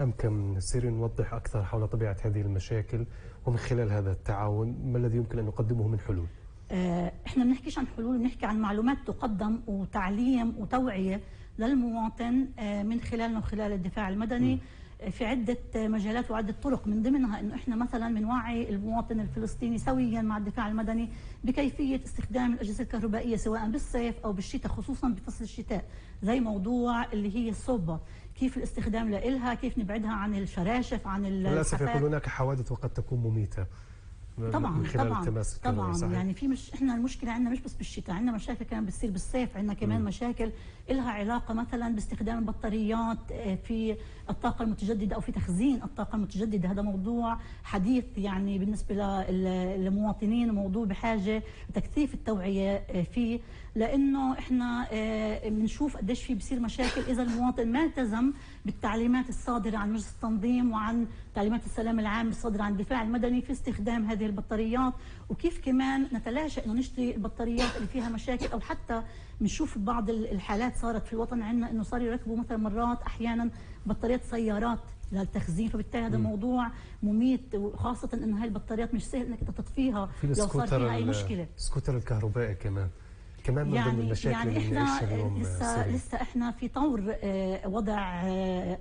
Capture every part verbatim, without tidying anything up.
أمكن نصير نوضح أكثر حول طبيعة هذه المشاكل، ومن خلال هذا التعاون ما الذي يمكن أن نقدمه من حلول؟ احنا ما بنحكيش عن حلول، بنحكي عن معلومات تقدم وتعليم وتوعية للمواطن من خلالنا وخلال الدفاع المدني. م. في عدة مجالات وعدة طرق، من ضمنها انه احنا مثلا بنوعي المواطن الفلسطيني سويا مع الدفاع المدني بكيفية استخدام الأجهزة الكهربائية سواء بالصيف او بالشتاء، خصوصا بفصل الشتاء، زي موضوع اللي هي الصوبة، كيف الاستخدام لإلها، كيف نبعدها عن الشراشف، عن للأسف يكون هناك حوادث وقد تكون مميتة طبعا من خلال طبعا التماس طبعا صحيح. يعني في مش احنا المشكله عندنا مش بس بالشتاء، عندنا مشاكل كمان بتصير بالصيف، عندنا كمان م. مشاكل لها علاقه مثلا باستخدام البطاريات في الطاقه المتجدده او في تخزين الطاقه المتجدده. هذا موضوع حديث يعني بالنسبه للمواطنين، وموضوع بحاجه لتكثيف التوعيه فيه، لانه احنا بنشوف قديش في بصير مشاكل اذا المواطن ما التزم بالتعليمات الصادره عن مجلس التنظيم وعن تعليمات السلام العام الصادره عن الدفاع المدني في استخدام هذه البطاريات، وكيف كمان نتلاشى انه نشتري البطاريات اللي فيها مشاكل، او حتى بنشوف بعض الحالات صارت في الوطن عندنا انه صار يركبوا مثلا مرات احيانا بطاريات سيارات للتخزين، فبالتالي هذا م. موضوع مميت، وخاصه انه هاي البطاريات مش سهل انك تطفيها لو صار فيها اي مشكله. السكوتر الكهربائي كمان كمان من يعني ضمن المشاكل يعني اللي احنا اليوم لسه سريع. لسه احنا في طور وضع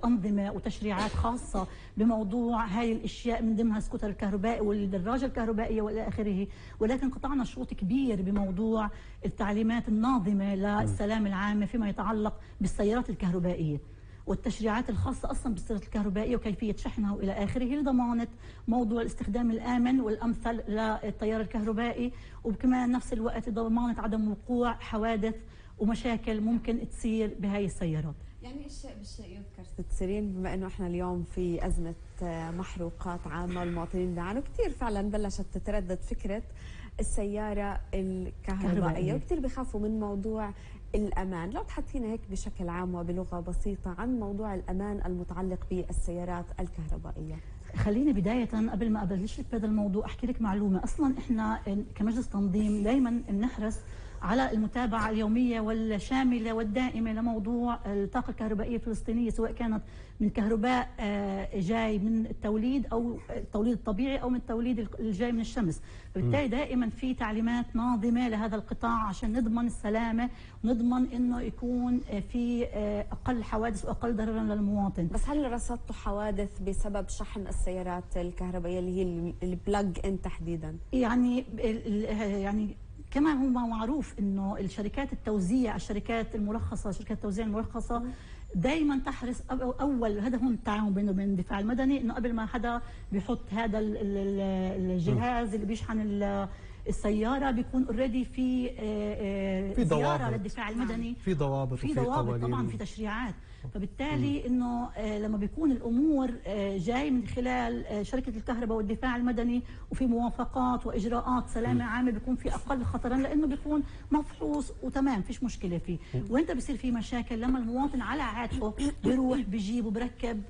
انظمه وتشريعات خاصه بموضوع هاي الاشياء، من ضمنها السكوتر الكهربائي والدراجه الكهربائيه والى اخره، ولكن قطعنا شوط كبير بموضوع التعليمات الناظمه للسلام العام فيما يتعلق بالسيارات الكهربائيه والتشريعات الخاصة أصلا بالسيارات الكهربائية وكيفية شحنها وإلى آخره، لضمانة موضوع الاستخدام الآمن والأمثل للتيار الكهربائي، وكمان نفس الوقت ضمانة عدم وقوع حوادث ومشاكل ممكن تصير بهاي السيارات. يعني الشيء بالشيء يذكر ست سيرين، بما انه احنا اليوم في ازمه محروقات عامه والمواطنين بيعانوا كثير، فعلا بلشت تتردد فكره السياره الكهربائيه وكثير بيخافوا من موضوع الأمان. لو تحدثينا هيك بشكل عام وبلغة بسيطة عن موضوع الأمان المتعلق بالسيارات الكهربائية. خليني بداية قبل ما أبلش لك بهذا الموضوع أحكي لك معلومة. أصلا إحنا كمجلس تنظيم دائما بنحرص على المتابعة اليومية والشاملة والدائمة لموضوع الطاقة الكهربائية الفلسطينية، سواء كانت من كهرباء جاي من التوليد أو التوليد الطبيعي أو من التوليد الجاي من الشمس. فبالتالي دائما في تعليمات ناظمة لهذا القطاع عشان نضمن السلامة ونضمن إنه يكون في أقل حوادث وأقل ضررا للمواطن. بس هل رصدتوا حوادث بسبب شحن السيارات الكهربائية اللي هي البلاج إن تحديدا؟ يعني يعني كما هو معروف انه الشركات التوزيع، الشركات المرخصه، شركات التوزيع المرخصه دائما تحرص اول هدفهم التعاون بينه وبين الدفاع المدني، انه قبل ما حدا بيحط هذا الجهاز اللي بيشحن السياره بيكون اوريدي في في زياره للدفاع المدني، في ضوابط في ضوابط طبعا، في تشريعات. فبالتالي انه لما بيكون الامور جاي من خلال شركه الكهرباء والدفاع المدني وفي موافقات واجراءات سلامه عامه، بيكون في اقل خطرا لانه بيكون مفحوص وتمام فيش مشكله فيه. وانت بصير في مشاكل لما المواطن على عاتقه بيروح بيجيب وبركب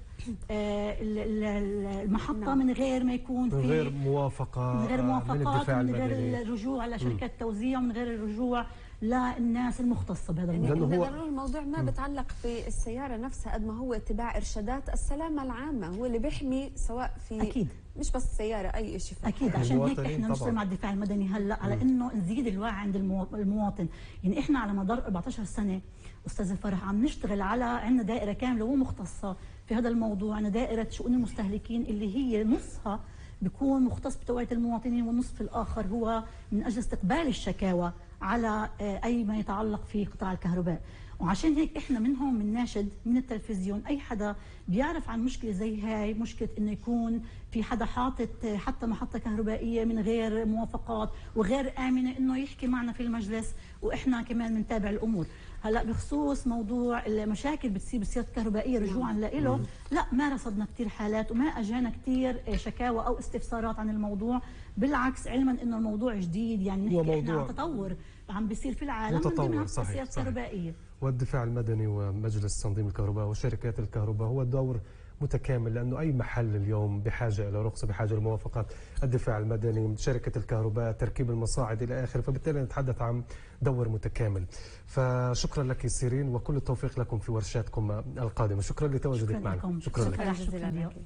المحطه من غير ما يكون في من غير موافقه من غير موافقات من من غير الرجوع لشركات التوزيع ومن غير الرجوع للناس المختصه بهذا الموضوع. يعني هو الموضوع ما بتعلق في السياره نفسها قد ما هو اتباع ارشادات السلامه العامه، هو اللي بيحمي سواء في اكيد مش بس السياره اي شيء. اكيد عشان هيك احنا نشتغل مع الدفاع المدني هلا على م. انه نزيد الوعي عند المواطن. يعني احنا على مدار أربعة عشر سنه استاذ الفرح عم نشتغل على عندنا دائره كامله ومختصه في هذا الموضوع، عندنا دائره شؤون المستهلكين اللي هي نصها بيكون مختص بتوعيه المواطنين، والنصف الاخر هو من اجل استقبال الشكاوى على اي ما يتعلق في قطاع الكهرباء. وعشان هيك احنا منهم بنناشد من التلفزيون اي حدا بيعرف عن مشكله زي هاي، مشكله انه يكون في حدا حاطط حتى محطه كهربائيه من غير موافقات وغير امنه، انه يحكي معنا في المجلس واحنا كمان بنتابع الامور. هلا بخصوص موضوع المشاكل بتصير بالسيارات الكهربائيه رجوعا له، لا ما رصدنا كثير حالات وما اجانا كثير شكاوى او استفسارات عن الموضوع، بالعكس علما انه الموضوع جديد، يعني نحكي احنا عن تطور عم بيصير في العالم من ضمنها السيارات الكهربائيه. والدفاع المدني ومجلس تنظيم الكهرباء وشركات الكهرباء هو دور متكامل، لأنه أي محل اليوم بحاجة إلى رخصة، بحاجة لموافقات الدفاع المدني، شركة الكهرباء، تركيب المصاعد إلى آخره، فبالتالي نتحدث عن دور متكامل. فشكرا لك سيرين، وكل التوفيق لكم في ورشاتكم القادمة. شكرا لتواجدك معنا. شكرا, شكرا لك. جزيلا لك.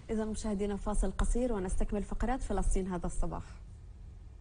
إذا مشاهدينا فاصل قصير ونستكمل فقرات فلسطين هذا الصباح.